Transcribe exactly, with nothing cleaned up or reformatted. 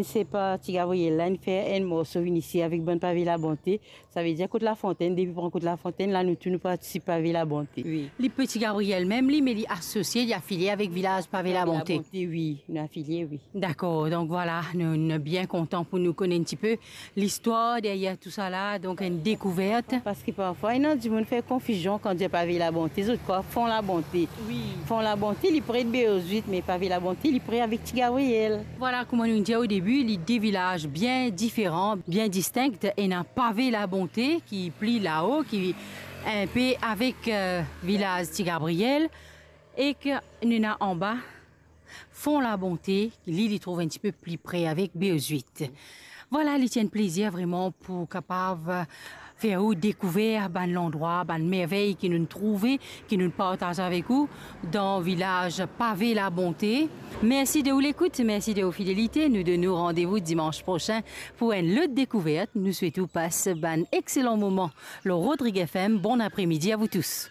Sepa Ti Gabriel la, inn fer enn morso vinn isi avek bann Pave Labonte. Savedir kot Lafontenn, depi pran kot Lafontenn, la nou tou nou partisip Pave Labonte. Wi. Li pe Ti Gabriel mem li, me li asosie, li afilie avek vilaz Pave Labonte. Labonte, wi, nou afilie, wi. Dakor, donk vwala, nou, nou bien kontan pou nou kone enn tipe listwar deryer tousala, donk enn dekouvert. Parski parfwa, ena dimoun fer konfizion kan dir Pave Labonte, zot krwar Fon Labonte. Wi. Fon Labonte, li pre de Beozwit, me Pave Labonte, li pre avek Ti Gabriel. Vwala, kouma nou dir o debi, li de vilaz bien diferan, bien distink. Ena Pave Labonte, ki pli lao, ki inpe avek, eh, vilaz Ti Gabriel, ek nou ena anba, Fon Labonte, li, li trouv enn tipe pli pre avek Beozwit. Vwala, li ti enn plezir vreman pou kapav fer ou dekouver bann landrwa, bann mervey ki nou trouve, ki nou partaz avek ou dan vilaz Pave Labonte. Mersi de ou lekout, mersi de ou fidelite. Nou donn ou randevou dimans prosin pou enn lot dekouvert. Nou swet ou pas bann exelan moman lor Rodrig F M. Bon apremidi a vous tous.